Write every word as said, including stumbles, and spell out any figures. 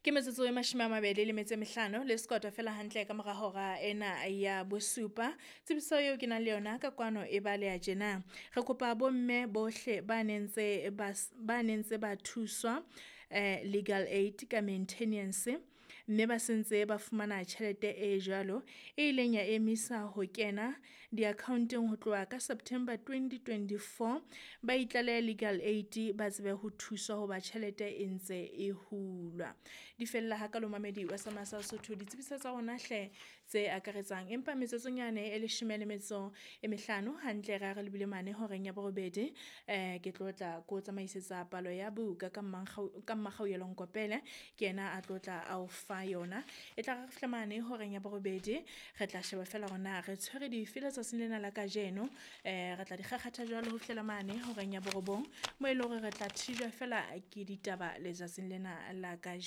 Ke metsotso e mashome a mabedi le metso e mehlano le sekota fela hantle ka mora hora ena ya bosupa. Tsebiso eo ke nang le yona ka kwano e baleha tjena. Re kopa bomme bohle ba nentse ba ba nentse ba thuswa eh legal aid ka maintenance mme ba sentse ba fumana tjhelete e jwalo e ileng ya emisa ho kena di-account-eng ho tloha ka September twenty twenty-four. Ba itlalehe legal aid ba tsebe ho thuswa hoba tjhelete e ntse e hulwa. Di fella hakalo momamedi wa Sama sa Sotho ditsebiso tsa rona hle tse akaretsang, empa metsotsonyane e leshome le metso e mehlano hantle re ha re lebile mane horeng ya borobedi. Eh ke tlo tla ko tsamaisetsa palo ya buka ka ka Mmakgaoyelo Nkopele ke yena a tlo tla a o fa yona. E tla re fihla mane horeng ya borobedi re tla sheba fela hore na re tshwere dife letsatsing lena la kajeno. Eh re tla di kgakgatha jwalo ho fihlela mane horeng ya borobong, moo e leng hore re tla thijwa fela ke ditaba letsatsing lena la kajeno.